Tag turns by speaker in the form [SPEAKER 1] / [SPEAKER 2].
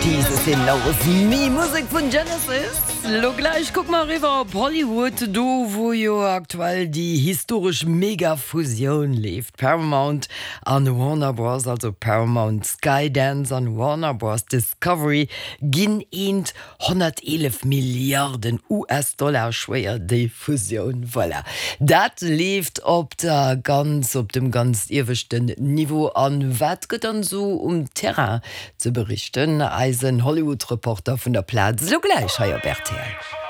[SPEAKER 1] Jesus He Knows Me, Musek vun Genesis. Lo gläich kucke mer eriwwer op Hollywood, do wou jo aktuell déi historesch Mega-Fusioun leeft. Paramount an Warner Bros, also Paramount Skydance an Warner Bros Discovery ginn eent. 111 Milliarden US-Dollar schwéier, déi Fusioun. Voilà, dat leeft op der ganz, op dem ganz ieweschten Niveau. An wat gëtt dann esou um Terrain ze berichten? Eisen Hollywood-Reporter vun der Plaz elo gläich hei op rtl.